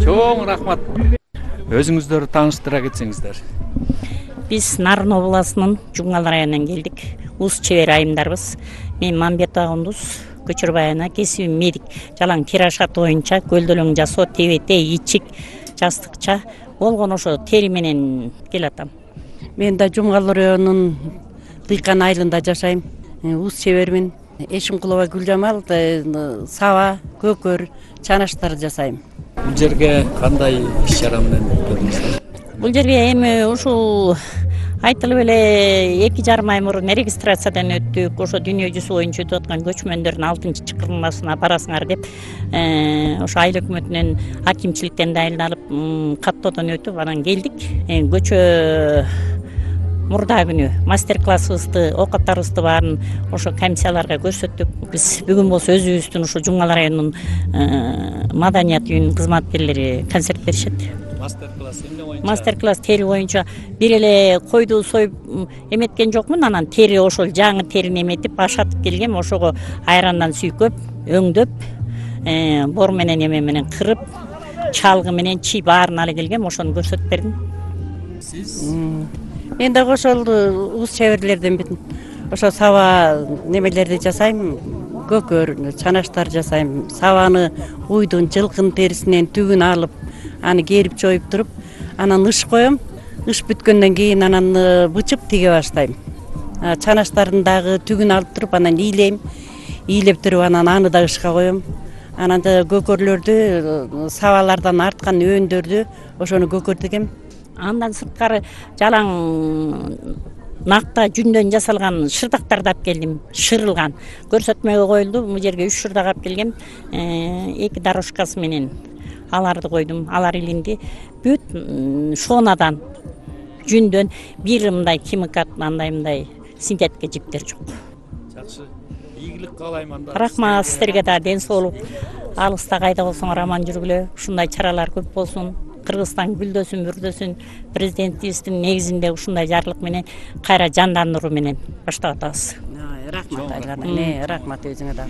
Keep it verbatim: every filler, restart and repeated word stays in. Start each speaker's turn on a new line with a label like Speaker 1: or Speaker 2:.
Speaker 1: Чоң рахмат. Өзүңүздөрдү тааныштыра кетсеңиздер.
Speaker 2: Биз Нарын областынын Жуңгал районунан келдик. Ус чебер айымдарбыз. Мен Мамбетова Кундуз, Көчөрбай ана, кесибим медик. Жалаң тирашаты боюнча көлдөлөң жасоо, тебете, ичик, жастыкча болгон ошо тери менен келатам.
Speaker 3: Мен да Жумгал районунун Дыйкан айылында жашайм. Ус чебермин. Эшимкулова Гүлжамал, саба, көкөр, чанаштар жасайм.
Speaker 1: Бул жерге кандай иш чара менен келдиңиздер?
Speaker 2: Бул жерге эми ушул айтылып эле эки жарым ай мурун регистрациядан өттүк. Ошо дүйнө жүзү боюнча өтүп аткан көчмөндөрдүн алтынчы чакырылмасына барасыңар деп ошо айыл өкмөтүнөн акимчиликтен дайындалып каттоодон өтүп анан келдик. Көчө мурда күнү мастер-классыбызды, оокаттарыбызды баарын ошо комиссияларга көрсөттүк. Биз бүгүн болсо өзүбүздүн ушу Жуңгал районунун маданият үйүнүн кызматкерлери концерт беришет.
Speaker 1: Мастер-класс эмне боюнча?
Speaker 2: Мастер-класс тери боюнча бир эле койду союп эметкен жокмун, анан тери ошол жаңы терини эметип, ашатып келгем, ошого айрандан сүйкөп, өңдөп, бор менен эме менен кырып, чалгы менен чий баарын ала келгем, ошону көрсөтүп бердим.
Speaker 1: Сиз?
Speaker 3: Мен дагы ошол ус чеберлерденмин. Ошо саба немелерди жасайм, көкөр, чанаштар жасайм. Сабаны уйдун, жылкын терисинен түгүн алып, аны керип жоюп туруп, анан ыш коем. Ыш бүткөндөн кийин анан бычып тиге баштайм. Чанаштарын дагы түгүн алып туруп, анан ийлейм. Ийлеп туруп, анан аны да ышка коем. Анан да көкөрлөрдү, сабалардан арткан өндөрдү ошону көкөр тигем.
Speaker 2: Андан сырткары жалаң накта жүндөн жасалган шырдактарды алып келдим, шырылган. Көрсөтмөгө коюлду. Бул жерге үч шырдак алып келгем. эки дорожкасы менен аларды койдум. Алар илинди. Бүт шонадан, жүндөн, бир мындай химикат, андай мындай синтетика жиптер жок.
Speaker 1: Жакшы. Ийгилик каалайм анда.
Speaker 2: Рахмат сиздерге да, ден соолук. Алыста кайда болсоңор аман жүргүлө. Ушундай чаралар көп болсун. Кыргызстан гүлдөсүн, бүрдөсүн. Президентибиздин негизинде ушундай жарлык менен кайра жандандыруу менен баштап атабыз.
Speaker 3: Рахмат, рахмат өзүңө да.